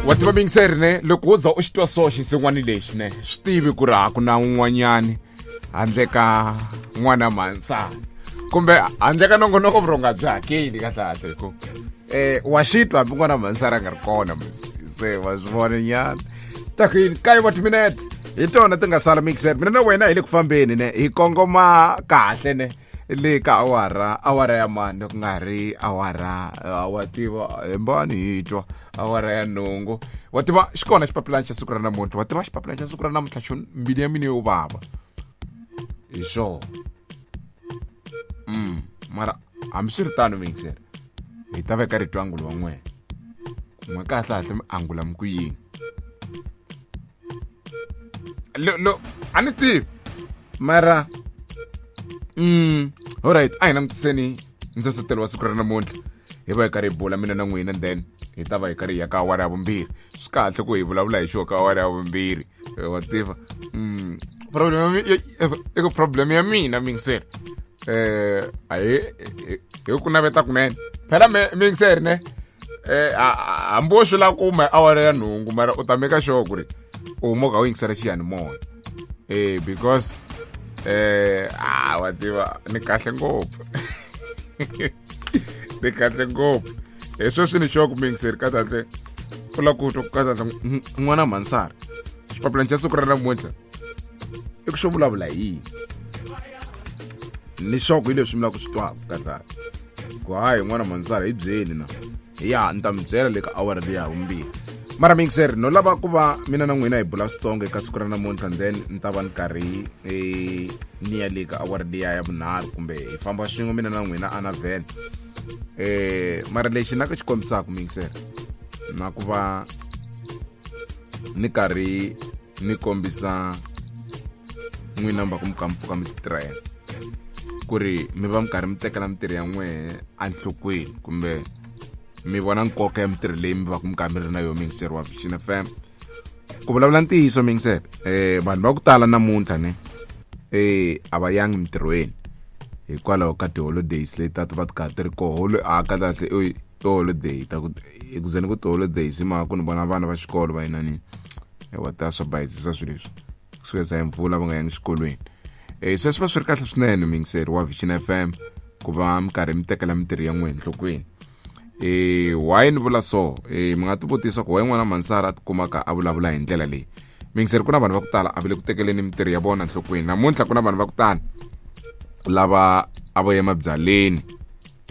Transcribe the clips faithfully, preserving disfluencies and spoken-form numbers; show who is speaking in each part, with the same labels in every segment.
Speaker 1: Wa tiva mingiseri ne loko wo za u xi twa so xinsin'wana lexi ne swi tivi ku ri a ku na un'wanyani handle ka n'wana mhansana kumbe handle ka nongonoko vurhonga byi hakeli kahlekahle hi ku eh wa xi twa hambi n'wana mhansana a nga ri kona se wa swi vona nyana taku kaye wa timinete hi tona ti nga sala mixer mina na wena hi le ku fambeni ne hi kongoma kahle ne le ka awara awara ya mani ku nga ri awara wa tiva hembani hi twa awara ya nhungu wa tiva xi kona xipapilani xa siku ra namuntlha wa tiva xipapilani xa siku ra namuntlha xo mbilu ya mina yo vava hi swona mm mara hambiswiritano mixer hi ta veka rito angulo wa n'wena n'we kahle kahle mi angula mi ku yini lo lo a ni tivi mara mm alright a hi langutiseni ndzohlotelo wa siku ra namuntlha hi va hi karhi hi bula mina na n'wina then hi ta va hi karhi hi ya ka awara ya vumbirhi swi kahle ku hi vulavula hi xo ka awara ya vumbirhi wa tiva mm problem i ku problem ya mina mingiseri eh a hi hi ku naveta kunene phela mingiseri ne eh hambi wo swi lava ku huma awara ya nhungu mara u ta meka sure ku ri u huma u kha u yingisela xiyanimoya eh because eh ah wa tiva ni kahle ngopfu ni kahle ngopfu hi sweswi ni sure ku mingiseri ka tatle u lava ku twa ku ka tatle n'wana mhansara xipapilani xa siku ra namuntlha i ku xo vulavula hi yini ni sure ku hi leswi mi lava ku swi twaka kahlekahle ku hayi n'wana mhansara hi byeli na ya ni ta mi byela le ka awara leyi ya vumbirhi mara mixer no lava ku va mina na n'wina hi bula switsongo eka siku ra namuntlha then ni ta va ni karhi eh, ni ya le ka awara liya ya vunharhu kumbe hi famba swin'we mina na n'wina ana vhele eh mara lexi na ku xi kombisaka mixer na ku va ni karhi ni kombisa n'wina va ku mi ka mi pfuka mi titirhela ku ri mi va mi karhi mi tekela mitirho ya n'wehe enhlokweni kumbe mi vona nkoka ya mitirho leyi mi va ku mi karhi mi ri na yona mingiseri wa Vision F M ku vulavula ntiyiso mingiseri eh vanhu va ku tala namuntlha ne eh a va yangi mitirhweni hikwalaho ka ti-holidays leti a ti va ti karhi ti ri koho a kahlekahle i ti-holiday ta ku ku ze ni ku ti-holidays hi mhaka ku ni vona vana va xikolo va yinani wa ta swa bayizisa swilo leswi kusuka hi mpfula va nga yangi xikolweni eh se swi va swi ri kahle swinene mingiseri wa Vision F M ku va mi karhi mi tekela mitirho ya n'wina enhlokweni eh why ni vula so eh mi nga ti vutisa ku why n'wana Mansara a tikumaka a vulavula hi ndlela leyi mingiseri ku na vanhu va ku tala a va le ku tekeleni mitirho ya vona enhlokweni namuntlha ku na vanhu va ku tala lava a vo ya emabyaleni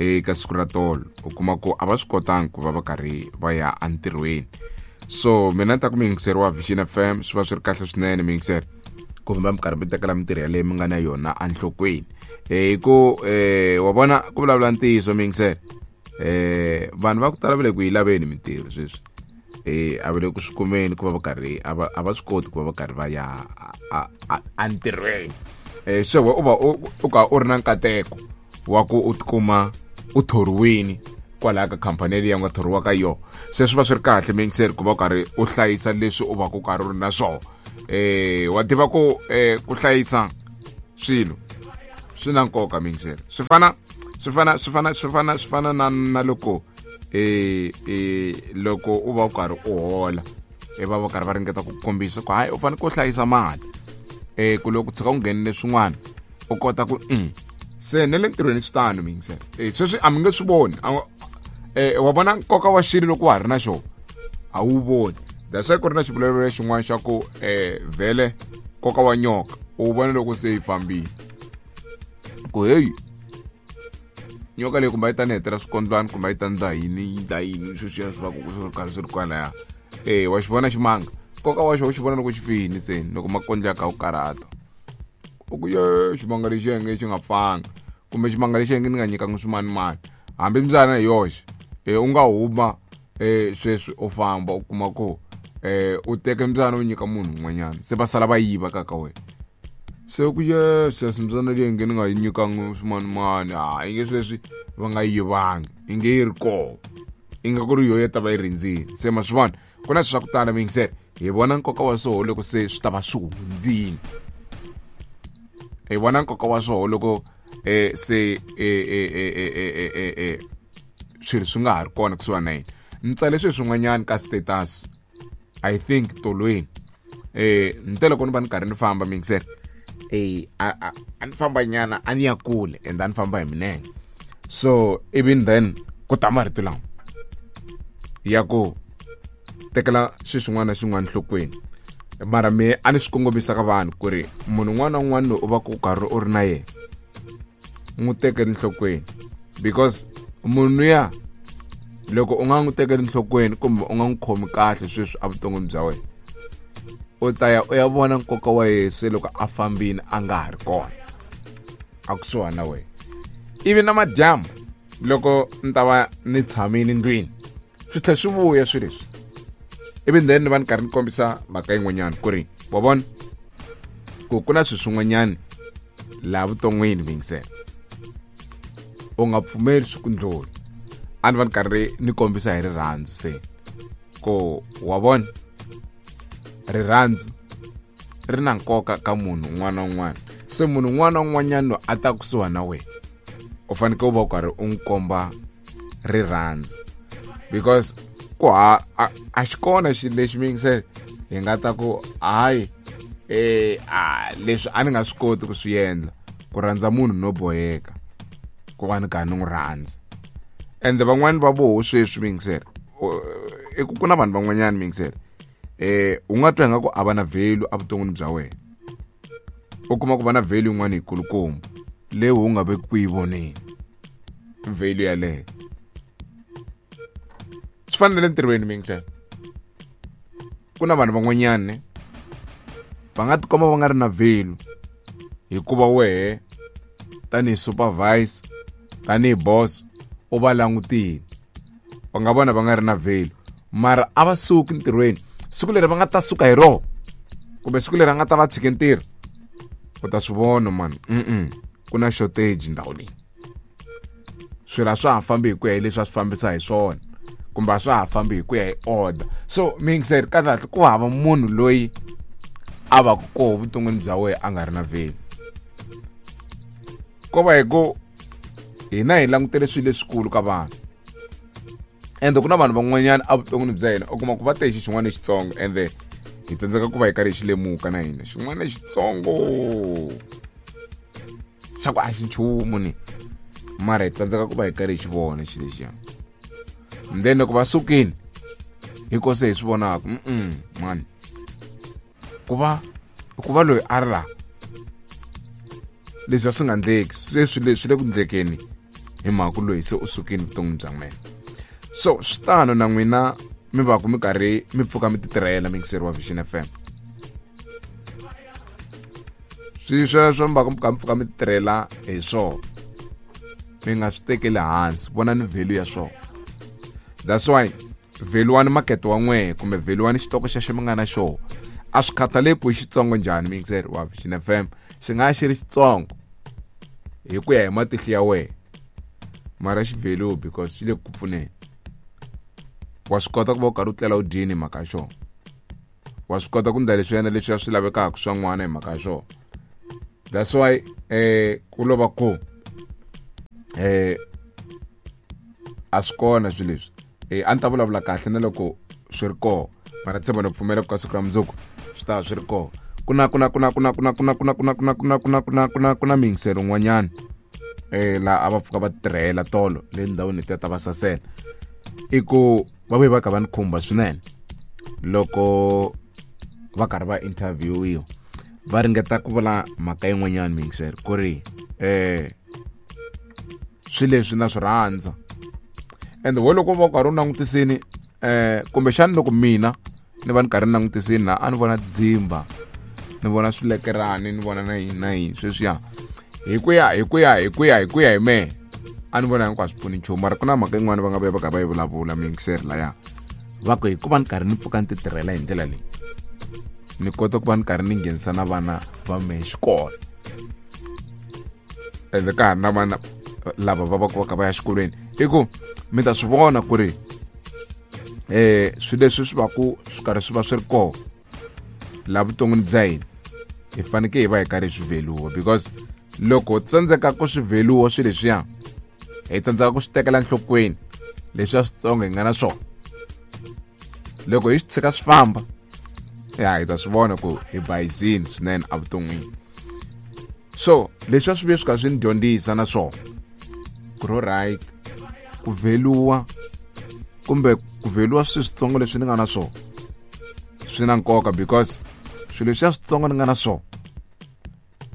Speaker 1: eka siku ra tolo u kuma ku a va swi kotangi ku va va karhi va ya entirhweni so mina ni ta ku miyingiseri wa Vision F M swi va swi ri kahle swinene miyingiseri ku va mi karhi mi tekela mitirho yaleyo mi nga na yona enhlokweni hi ku eh wa vona ku vulavula ntiyiso miyingiseri eh vanhu va ku tala va le ku yi laveni mitirho sweswi eh a va le ku swi kumeni ku va va karhi a va a va swi koti ku va va karhi va ya entirhweni eh se u va u ka u ri na nkateko wa ku u tikuma u thoriwini kwalaya ka khampani leyi nga thoriwa ka yona se swi va swi ri kahle mingiseri ku va u karhi u hlayisa leswi u va ku karhi u ri na swona eh wa tiva ku eh ku hlayisa swilo swi na nkoka mingiseri swi fana swi fana swi fana swi fana swi fana na na loko eh eh loko u va u karhi u hola e va va karhi va ringeta ku kombisa ku hayi u fanele ku hlayisa mali eh ku loko tshuka u nghenile swin'wana u kota ku mm se ne le ntirhweni swi tano mingiseri eh sweswi a mi nge swi voni eh wa vona nkoka wa xilo loko wa ha ri na xona a wu voni that's why ku ri na xivulavulelo xin'wana xa ku eh vhele nkoka wa nyoka u vona loko se yi fambile ku heyi nyoka leyi kumbe a yi ta ni hetela swikondlwana kumbe a yi ta ndla yini yi ndla yini sweswiya swi va ku swi ri karhi swi ri kwalaya eh wa xi vona ximanga nkoka wa xona u xi vona loko xi fini se loko makondlo ya ka wu karhata u ku ye ximanga lexi yenge xi nga pfanga kumbe ximanga lexi yenge ni nga nyikanga swimanimani hambi mbyana hi yoxe eh u nga huma eh sweswi u famba u kuma ku eh u teke mbyana u nyika munhu un'wanyana se va sala va yiva ka ka wena se ku ye sweswi mbyana leyi nge ni nga yi nyikanga swimanimani ha yi nge sweswi va nga yivangi yi nge yi ri kona i nga ku ri yoho ya ta va yi rindzile se ma swi vona ku na swi swa ku tala mingiseri hi vona nkoka wa swoho loko se swi ta va swi hundzile hi vona nkoka wa swoho loko eh se eh eh eh eh eh swilo swi nga ha ri kona kusuhana na yena ni tsale sweswi swin'wanyana ka status I think tolweni eh ni loko ni va ni karhi ni famba mixer eh a a ni famba nyana a ni ya kule and a ni famba hi minenge so even then ku ta marito lawa ya ku tekela swilo swin'wana na swin'wana nhlokweni mara me a ni swi kongomisa ka vanhu ku ri munhu un'wana na un'wana loyi u va ku karhi u ri na yena n'wi tekeli nhlokweni because munhu ya loko u nga n'wi tekeli nhlokweni kumbe u nga n'wi khomi kahle sweswi evuton'wini bya wena u ta ya u ya vona nkoka wa yena se loko a fambile a nga ha ri kona a kusuhani na wena ivi na madyambu loko ni ta va ni tshamile ndlwini swi tlhela swi vuya swilo leswi ivi then ni va ni karhi ni kombisa mhaka yin'wanyana ku ri wa vona ku ku na swilo swin'wanyana laha vuton'wini mingisela u nga pfumeli swi ku ndlula a ni va ni karhi ni kombisa hi rirhandzu se ku wa vona rirhandzu ri na nkoka ka munhu un'wana na un'wana se munhu un'wana na un'wanyana loyi a ta kusuhi na wena u fanekele u va u karhi u n'wi komba rirhandzu because ku ha a xi kona xilo lexi mingisele hi nga ta ku hayi eh a leswi a ni nga swi koti ku swi endla ku rhandza munhu no boheka ku va ni karhi ni n'wi rhandza ende van'wani va voho sweswi mingisele i ku ku na vanhu van'wanyana mingisele eh u nga twa ingaku a va na value evuton'wini bya wena u kuma ku va na value yin'wana yikulukumba leyi u nga veki ku yi voneni value yaleyo swi fana na le ntirhweni mingisele ku na vanhu van'wanyana va nga tikomba va nga ri na value hikuva wehe tanihi supervisor tanihi boss u va langutile u nga vona va nga ri na value mara a va suki ntirhweni siku leri va nga ta suka hi roho kumbe siku leri a nga ta va tshike ntirho u ta swi vona mani mm ku na shortage ndhawu leyi swilo a swa ha fambi hi ku ya hi leswi a swi fambisa hi swona kumbe a swa ha fambi hi ku ya hi order so mingiseri kahle ku hava munhu loyi a va ku koho vuton'wini bya wena a nga ri na value ko va hi ku hina hi langutele swilo leswikulu ka vanhu ende ku na vanhu van'wanyana evuton'wini bya hina u kuma ku va te xi xin'wana lexitsongo ende hi tsandzeka ku va hi karhi hi xi lemuka na hina xin'wana lexitsongo xa ku a xi nchumu ni mara hi tsandzeka ku va hi karhi hi xi vona xilo lexiya and then loko va sukile hi ko se hi swi vonaka mm mani ku va ku va loyi a ri laha leswi a swi nga ndleki se swi leswi le ku ndlekeni hi mhaka loyi se u sukile vuton'wini bya n'wina so swi tano na n'wina mi va ku mi karhi mi pfuka mi ti tirhela mixer wa Vision F M swi sweswo mi va ku mi pfuka mi ti tirhela hi swona mi nga swi tekeli hansi vonani value ya swona that's why value wani makete wa n'wehe kumbe value wani xitoko xexo mi nga na xona a swi khathaleki ku i xitsongo njhani mixer wa Vision F M xi nga xi ri xitsongo hi ku ya hi matihlo ya wena mara xi value because xi le ku pfuneni wa swi kota ku va u karhi u tlela u dyini hi mhaka ya xona wa swi kota ku ndla leswi yena leswi swi lavekaka swa n'wana hi mhaka ya xona that's why eh ku lova ku eh a swi kona swilo leswi eh a ni ta vulavula kahle na loko swi ri kona mara tshemba no pfumela ku ka siku ra mundzuku swi ta swi ri kona ku na ku na ku na ku na ku na ku na ku na ku na ku na ku na ku na ku na ku na ku na miyingiselo un'wanyana eh laha a va pfuka va tirhela tolo le ndhawini letiya ta va sasela i ku va vuye va kha va ni khumba swinene loko va karhi va interviewiwa va ringeta ku vula mhaka yin'wanyana miyingiselo ku ri eh swilo leswi na swi rhandza ende wo loko va u karhi u langutisini eh kumbexani loko mina ni va ni karhi ni langutisini laha a ni vona dzimba ni vona swilekerani ni vona na yini na yini sweswiya hi ku ya hi ku ya hi ku ya hi ku ya hi mehe a ni vona hinkwaswo pfuni nchumu mara ku na mhaka yin'wana va nga vuya va karhi va yi vulavula miyingiseri laya va ku hikuva ni karhi ni pfuka ni ti tirhela hi ndlela leyi ni kota ku va ni karhi ni nghenisa na vana va mehe xikolo ende ka ha ri na vana lava va va ku va kha va ya xikolweni i ku mi ta swi vona ku ri eh swilo leswi swi va ku swi karhi swi va swi ri kona laha vuton'wini bya hina hi fanekele hi va hi karhi hi swi vheluwa because loko tsandzeka ku swi vheluwa swilo leswiya hi tsandzeka ku swi tekela enhlokweni leswiya switsongo hi nga na swona Loko hi swi tshika swi famba ya hi ta swi vona ku hi bayizini swinene evuton'wini. So leswi a swi vuye swi kha swi ni dyondzisa na swona ku ri right ku vheluwa kumbe ku vheluwa swilo switsongo leswi ni nga na swona swi na nkoka, because swilo leswiya switsongo ni nga na swona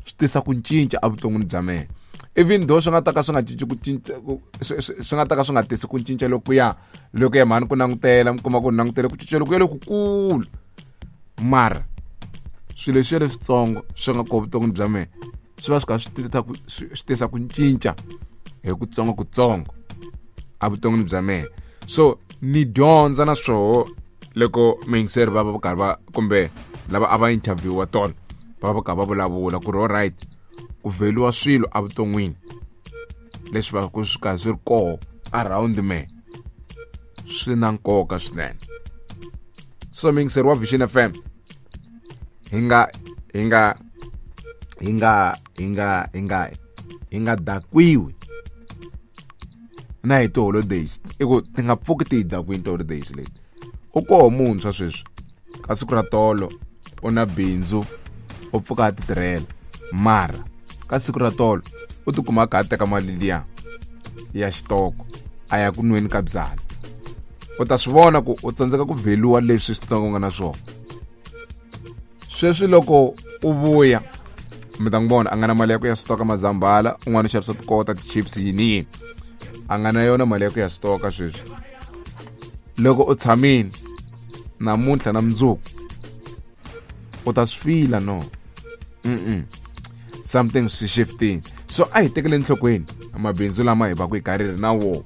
Speaker 1: swi tisa ku cinca evuton'wini bya mina. Even though swi nga ta ka swi nga cinci ku cinca, swi nga ta ka swi nga tisi ku cinca lokuya loko ya mhani ku langutela mi kuma ku langutele ku cinca lokuya lokukulu, mara swilo leswiya leswitsongo swi nga kona vuton'wini bya mina swi va swi kha swi tisa ku swi tisa ku cinca hi kutsongo kutsongo evuton'wini bya mina. So ni dyondza na swoho loko muyingiseri va va karhi va kumbe lava a va interview-wa tona va va karhi va vulavula ku ri alright ku vheliwa swilo evuton'wini leswi va ku swi karhi swi ri koho around me swi na nkoka swinene. So muyingiseri wa Vision F M, hi nga hi nga hi nga hi nga hi nga hi nga dakwiwi na hi ti-holidays, i ku ti nga pfuki ti hi dakwini ti-holidays leti. U koho muntshwa sweswi ka siku ra tolo u na bindzu u pfuka a ti tirhela, mara ka siku ra tolo u tikuma a kha a teka mali liya ya xitoko a ya ku nweni ka byala. U ta swi vona ku u tsandzeka ku vheliwa leswi switsongo nga na swona. Sweswi loko u vuya mi ta n'wi vona a nga na mali ya ku ya switoka mazambhala, un'wana u xavisa tikota ti-chips yini yini, a nga na yona mali ya ku ya switoka sweswi. Loko u tshamile namuntlha na mundzuku u ta swi fila no mm something swi shifting. So a hi tekele enhlokweni mabindzu lama hi va ku hi karhi ri na wona,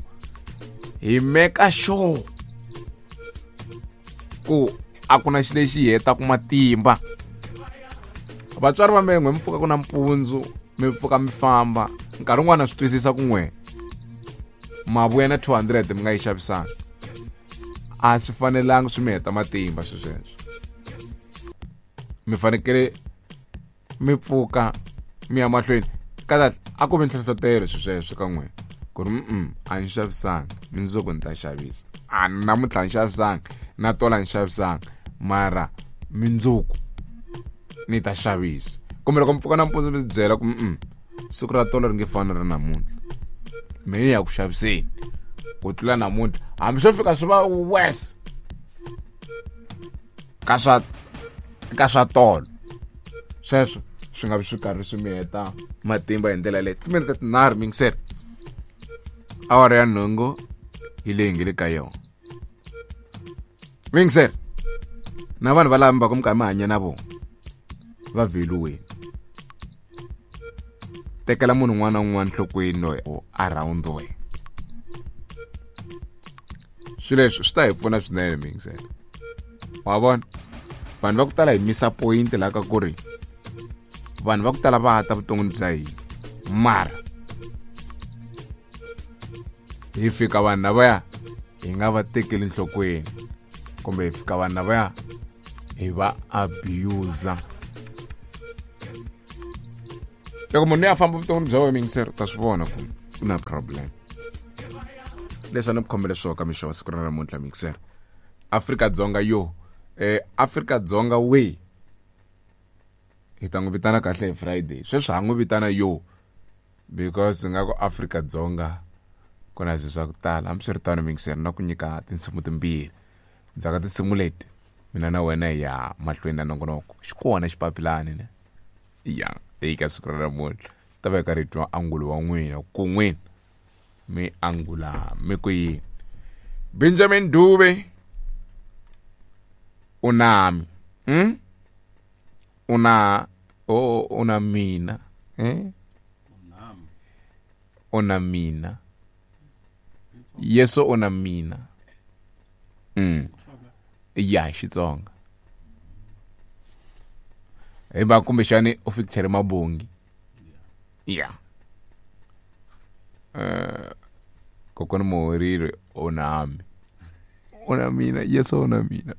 Speaker 1: hi meka sure ku a ku na xilo lexi hi hetaka matimba. Vatswari va mina n'we mi pfuka ku na mpundzu mi pfuka mi famba, nkarhi wun'wani swi twisisa ku n'we ma vuya na two hundred mi nga yi xavisanga, a swi fanelanga swi mi heta matimba swi sweswo. Mi fanekele mi pfuka mi ya mahlweni. Kahle a ku vi nhlohlotelo swi sweswo ka n'we ku ri mm a ni xavisanga, mundzuku ni ta xavisa, a namuntlha ni xavisanga na tola ni xavisanga, mara mundzuku ni ta xavisa. Kumbe loko mi pfuka nampundzu mi byela ku mm siku ra tolo ri nge fani ra namuntlha, mina ni ya ku xaviseni ku tlula namuntlha, hambi swo fika swi va worse ka swa ka swa tolo. Sweswo swi nga vi swi karhi swi mi heta matimba hi ndlela leyi. Timinete tinharhu mingiseri, awara ya nhungu hi leyi nge le ka yona. Mingiseri na vanhu va lava mi va ku mi karhi mi hanya na vona va vheliweni, tekela munhu un'wana na un'wana nhlokweni loyi around wena. Swilo leswi swi ta hi pfuna swinene mingiseri. Wa vona vanhu va ku tala hi misa point laha ka ku ri vanhu va ku tala va ta vuton'wini bya hina, mara hi fika vanhu lavaya hi nga va tekeli nhlokweni, kumbe hi fika vanhu lavaya hi va abuser. Loko munhu a famba vuton'wini bya wena mingiseri, u ta swi vona ku ku na problem. Leswi a ni ku khomele swona ka mixo wa siku ra namuntlha mingiseri. Afrika-Dzonga yo eh Afrika-Dzonga we hi ta n'wi vitana kahle hi Friday, sweswi ha n'wi vitana yo because nga ku Afrika-Dzonga ku na swilo swa ku tala. Hambiswiritano mingiseri, na ku nyika tinsimu timbirhi ndzhaku ka tinsimu leti mina na wena hi ya mahlweni na nongonoko. Xi kona xipapilani ne ya eka siku ra namuntlha ta va hi karhi hi twa angulo wa n'wina ku n'wina mi angula mi ku yini. Benjamin Dube u nami hmm? una o una mina eh? Una mina Yesu una mina mm. Ya Xitsonga hi va kumbexani u fikichere mabongi ya eh kokwana Muhorile u nami una mina Yesu una mina.